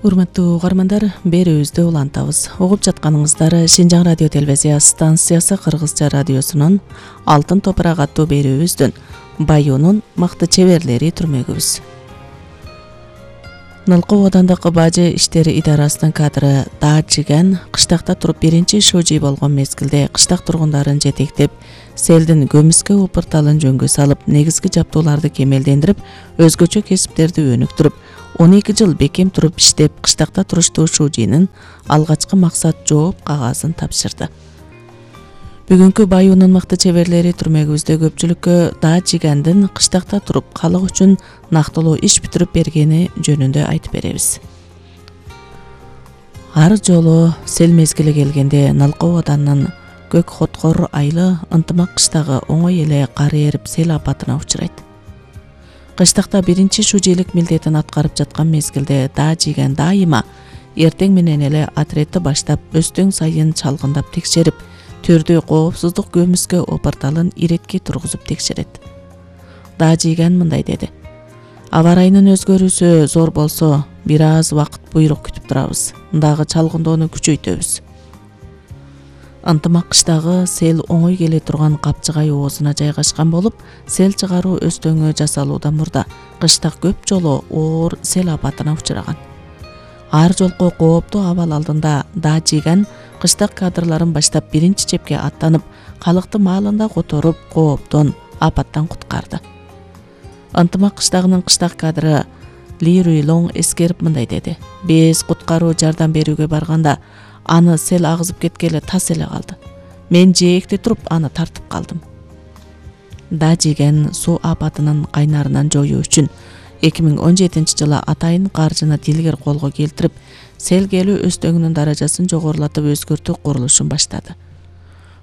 Урматтуу угармандар, берүүбүздү улантабыз. Угуп жатканыңыздар Шинжаң радио телевизия станциясы Кыргызча радиосунун Алтын топурак аттуу берүүбүздүн Баюунун мыкты чеберлери түрмөгүбүз. Нылкы оодандык бажы иштери идарасынын кадры Даачиген кыштакта туруп биринчи шужий болгон мезгилде кыштак тургундарын жетектеп, селдин көмүскө упурталын жөнгө салып, негизги жаптууларды кемелдендирип, өзгөчө кесиптерди өнүктүрүп, 12 жыл бекем туруп иштеп, кыштакта туруштуу шужийнин алгачкы максат жооп кагазын тапшырды. Бүгүнкү Баюунун мыкты чеберлери түрмөгүбүздө көпчүлүккө Даачигендин кыштакта туруп калык үчүн нактылуу иш бүтүрүп бергени жөнүндө айтып беребиз. Ар жолу сел мезгили келгенде Нылкы ооданын көк хоткор айлы ынтымак кыштагы оңой эле кар эрип сел апатына учурайт. Кыштакта биринчи шужейлик милдетин аткарып жаткан мезгилде Даачиген дайыма эртең менен эле отрядты баштап, өстөң сайын чалгындап текшерип, түрдүү коопсуздук көмүскө опорталын иретке тургузуп текшерет. Даачиген мындай деди: аба ырайынын өзгөрүүсү зор болсо, бир аз убакыт буйрук күтүп турабыз, дагы чалгындоону күчөйтөбүз. Ынтымак кыштагы сел оңой келе турган Капчыгай оозуна жайгашкан болуп, сел чыгаруу өстөңү жасалуудан мурда кыштак көп жолу оор сел апатына учураган. Ар жолку кооптуу абал алдында Даачиген кыштак кадрларын баштап биринчи чепке аттанып, калыкты маалында которуп, кооптон, апаттан куткарды. Ынтымак кыштагынын кыштак кадры Ли Руйлоң эскерип мындай деди: биз куткаруу жардам берүүгө барганда аны сел агызып кеткеле тас эле калды. Мен жээкте туруп аны тартып калдым. Даачиген суу апатынын кайнарынан жоюу үчүн 2017 жылы атайын каржыны дилгер колго келтирип, сел келүү өстөңүнүн даражасын жогорулатып өзгөртүү курулушун баштады.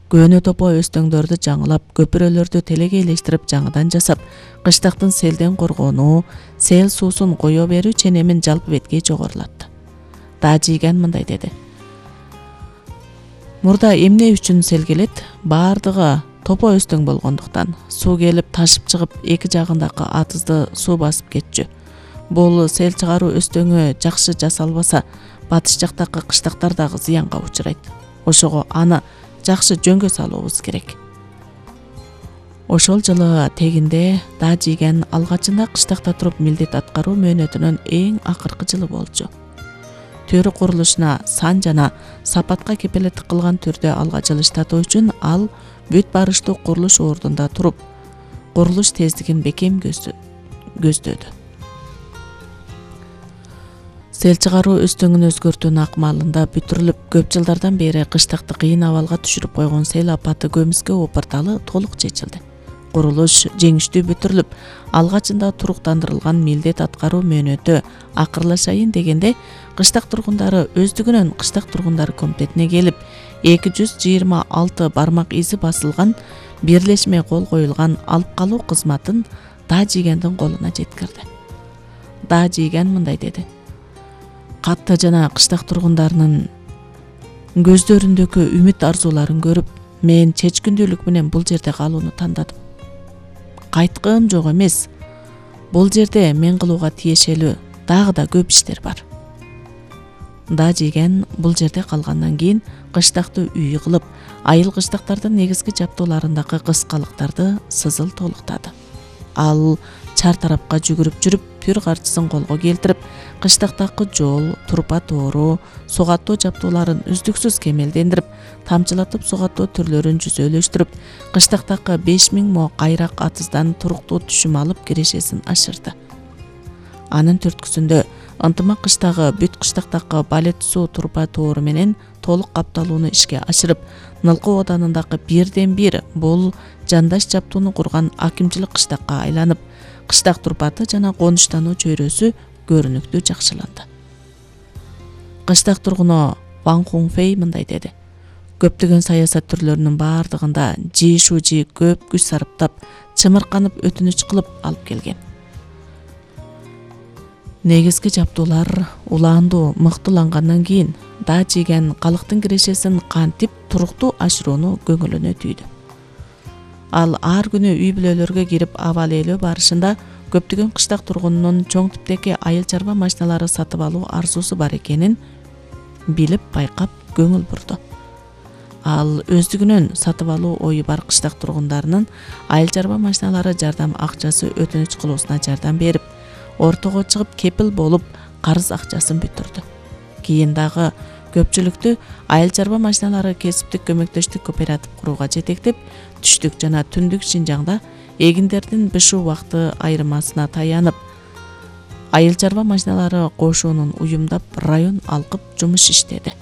Көөнө топо өстөңдөрдү жаңылап, көпүрөлөрдү телегейлештирип жаңыдан жасап, кыштактын селден коргонуу, сел суусун кое берүү ченемин жалпы бетке жогорулатты. Даачиген мындай деди: мурда эмне үчүн сел келет? Баардыгы топо өстөң болгондуктан. Суу келип ташып чыгып, эки жагындагы атызды суу басып кетчү. Бул сел чыгаруу өстөңү жакшы жасалбаса, батыш жактагы кыштактар дагы зыянга учурайт. Ошого аны жакшы жөнгө салуубуз керек. Ошол жылы тегинде Даачиген алгачында кыштакта туруп милдет аткаруу мөөнөтүнүн эң акыркы жылы болчу. Төрү курулушуна сан жана сапатка кепелеттик кылган түрдө алга жылыштатуу үчүн ал бүт барыштуу курулуш ордунда туруп, курулуш тездигин бекем көздөдү. Сел чыгаруу өстөңүн өзгөртүүнүн акмалында бүтүрүлүп, көп жылдардан бери кыштакты кыйын абалга түшүрүп койгон сел апаты көмүскө опорталы толук чечилди. Курулуш жеңиштүү бүтүрүлүп, алгачында туруктандырылган милдет аткаруу мөөнөтү акырлашайын дегенде, кыштак тургундары өздүгүнөн кыштак тургундар комитетине келип, 226 бармак изи басылган бирлешме кол коюлган алып калуу кызматын Даачигендин колуна жеткирди. Даачиген мындай деди: катты жана кыштак тургундарынын көздөрүндөгү үмүт арзууларын көрүп, мен чечкиндүүлүк менен бул жерде калууну тандадым. Кайткым жок эмес. Бул жерде мен кылууга тиешелүү дагы да көп иштер бар. Даачиген бул жерде калгандан кийин кыштакты үй кылып, айыл кыштактардын негизги жаптууларындагы кыскалыктарды сызыл толуктады. Ал чар тарапка жүгүрүп жүрүп, пүр карчысын колго келтирип, кыштактагы жол, турпа тоору, сугаттоо жаптууларын үздүксүз кемелдендирип, тамчылатып сугаттоо түрлөрүн жүзөлөштүрүп, кыштактагы 5000 мо кайрак атыздан туруктуу түшүм алып кирешесин ашырды. Анын түрткүсүндө ынтымак кыштагы бүт кыштактагы балет суу турпа тоору менен толук капталууну ишке ашырып, Нылкы ооданындагы бирден бир бул жандаш жаптууну курган акимчилик кыштакка айланып, кыштак турпаты жана конуштануу чөйрөсү көрүнүктүү жакшыланды. Кыштак тургуну Ван Хунфей мындай деди: көптөгөн саясат түрлөрүнүн баардыгында Жи Шужи көп күч сарптап, чымырканып өтүнүч кылып алып келген. Негизги жаптуулар улаандуу мыктылангандан кийин Даачиген калктын кирешесин кантип туруктуу ашырууну көңүлүнө түйдү. Ал ар күнү үй бүлөлөргө кирип абал ээлөө барышында көптөгөн кыштак тургунунун чоң типтеги айыл чарба машиналары сатып алуу арзусу бар экенин билип байкап көңүл бурду. Ал өздүгүнөн сатып алуу ою бар кыштак тургундарынын айыл чарба машиналары жардам акчасы өтүнүч кылуусуна жардам берип, ортого чыгып кепил болуп карыз акчасын бүтүрдү. Кийин дагы көпчүлүктү айыл чарба машиналары кесиптик көмөктөштүк кооператив курууга жетектеп, түштүк жана түндүк Шинжаңда эгиндердин бышуу убакыты айырмасына таянып, айыл чарба машиналары кошуунун уюмдап район алкып жумуш иштеди.